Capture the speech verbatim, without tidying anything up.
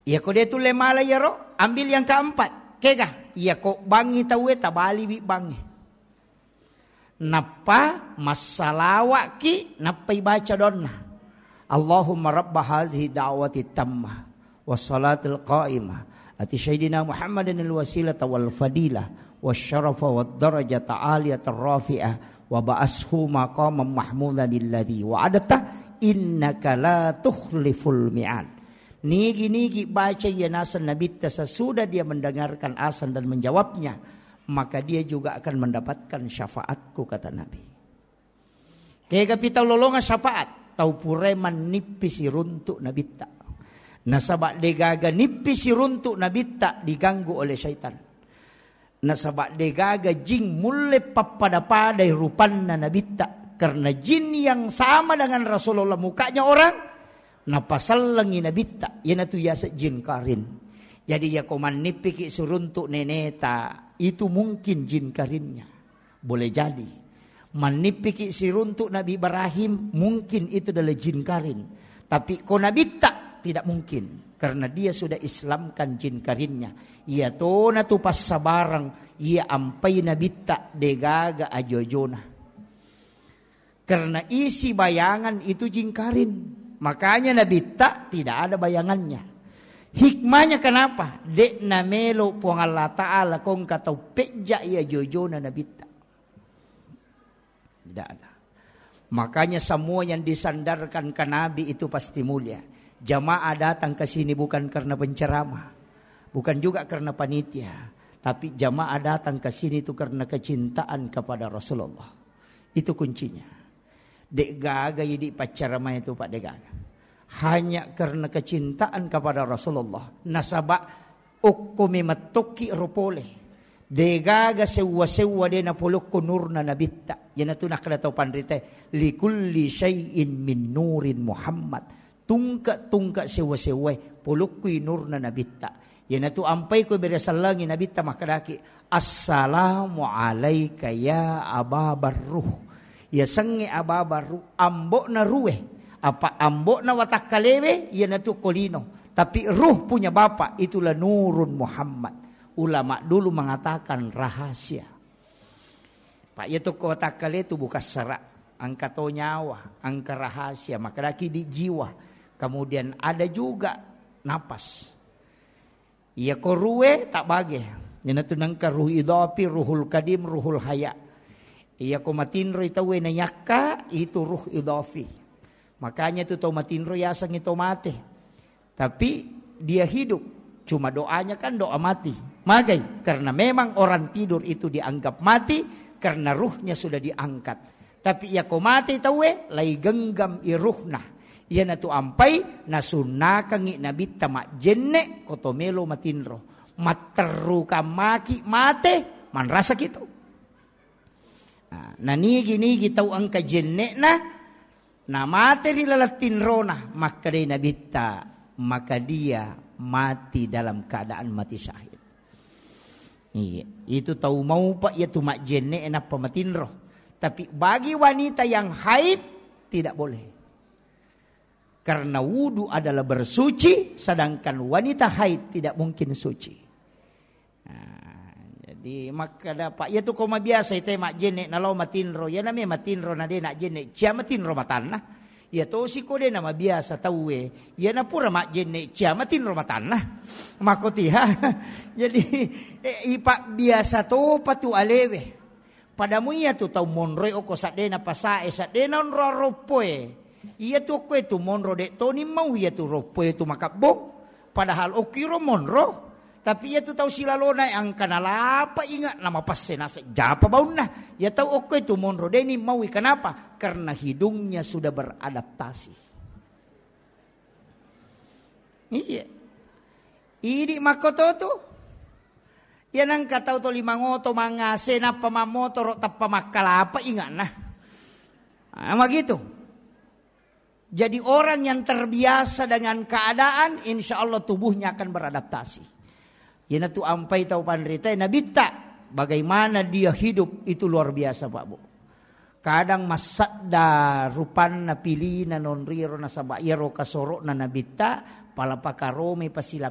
Iyako de' tulle mala iyaro, ambil yang keempat. Kega? Iyako bangngi tauwe, tabaliwi bangnge. Nappa massalawa'ki, nappa ibaca doanna. Allahumma rabba hadhihi da'wati tammah, wassalatil qa'imah, ati sayyidina Muhammadin al-wasilata wal fadilah, wasyarafa wad darajata aliyatar rafi'ah, wa ba'ashu maqaman mahmudan alladzi wa'adta, innaka la tukhliful mi'ad. Nigi-nigi baca iya naseng Nabitta sesudah dia mendengarkan azan dan menjawabnya, maka dia juga akan mendapatkan syafaatku, kata Nabi. Kegapi tau lolonga syafaat? Tau purae mannippi siruntu Nabitta. Nasaba degaga nippi siruntu Nabitta diganggu oleh syaitan. Nasaba degaga jin mulle pappada-padai rupanna Nabitta. Karena jin yang sama dengan Rasulullah mukanya orang, napasellengi Nabitta, iyanatu yaseng jin karin. Jadi, iyako mannippiki siruntu neneta, itu mungkin jin karinnya. Boleh jadi. Mannippiki siruntu Nabi Ibrahim, mungkin itu adalah jin karin. Tapi ko Nabitta, tidak mungkin. Karena dia sudah Islamkan jin karinnya. Iyatonatu passabareng, iya ampai Nabitta, degaga ajo-ajona. Karena isi bayangan itu jin karin. Makanya Nabitta tidak ada bayangannya. Hikmahnya kenapa? De'na melo Puang Allah Ta'ala kongka tau pejja iya jojona Nabitta. Tidak ada. Makanya semua yang disandarkan ke Nabi itu pasti mulia. Jamaah datang ke sini bukan karena penceramah, bukan juga karena panitia, tapi jamaah datang ke sini itu karena kecintaan kepada Rasulullah. Itu kuncinya. De'gaga idi paccarama itu, Pak, de'gaga. Hanya karena kecintaan kepada Rasulullah. Nasaba okko memettokki ro pole. De'gaga sewwa-sewwa de napolokko nurna Nabitta. Iyanatu nakkeda tau panrita, "Likulli syai'in min nurin Muhammad." Tungke-tungke sewwa-sewwae polokkui nurna Nabitta. Iyanatu ampai ko bere sellengi Nabitta makkedaki, "Assalamu alaika ya Aba Barruh." Yasengnge Aba Barruh, ambo'na ruwe, apa ambo'na watakkalewe, iyanatu ko lino. Tapi ruh punya bapak, itulah nurun Muhammad. Ulama dulu mengatakan rahasia. Pak, iya tokko watakkale tu bukan serak, engka to nyawa, engka rahasia, makkedaki di jiwa. Kemudian ada juga napas. Iya ko ruwe tak bage. Iyanatu nengka ruh idafi, ruhul kadim, ruhul haya. Iya ko matinro tauwe nayakka, itu ruh idafi. Makanya tu tau matinro yasengngi to mate. Tapi dia hidup. Cuma doanya kan doa mati. Magai? Karena memang orang tidur itu dianggap mati karena ruhnya sudah diangkat. Tapi iya ko mate tauwe, lai genggam i ruhna. Iyanatu ampai nasunnakangngi Nabitta majjenne ko to melo matinro. Matterrukang maki mate, manrasaki tu. Nah, nanigi-nigi tau engka jenne'na, namate ri laleng tinrona, makkedai Nabitta, maka dia mati dalam keadaan mati syahid. Iya, itu tau maupa iya tu majjenne nappa matinro. Tapi bagi wanita yang haid, tidak boleh. Karena wudu adalah bersuci, sedangkan wanita haid tidak mungkin suci. Nah, jadi makkeda, Pak, iya tu ko mabiasa ite majjenne nalo matinro, iya name matinro na de najjenne, cia matinro matanna. Iya tosi ko de namabiasa tauwe, iya napura majjenne, cia matinro matanna. Makotiha. Jadi, eh, ipa biasa topa tu alewe. Padamu iya tu tau monroe okko saddena pasae, saddena onro aroppoe. Iya tu okkoe tu monro de toni mau iya tu roppoe tu makabbong. Padahal okkiro monro. Tapi iya tu tau silalona engka nalapa inga namapasse naseng japa baunna. Iya tau okkoe tu monro deni maui, kenapa? Karena hidungnya sudah beradaptasi. Iya. Idi makkoto tu. Iya nengka tau to lima ngoto mangase nappa mammotoro tappa makkalapa ingana. Ah, begitu. Jadi orang yang terbiasa dengan keadaan, insya Allah tubuhnya akan beradaptasi. Iyanatu ampai tau panrita, Nabitta, bagaimana dia hidup itu luar biasa, Pak Bu. Kadang massadda rupanna pilina nonriro nasaba iyaro kasoro'na Nabitta, pala pakaromi pasilaku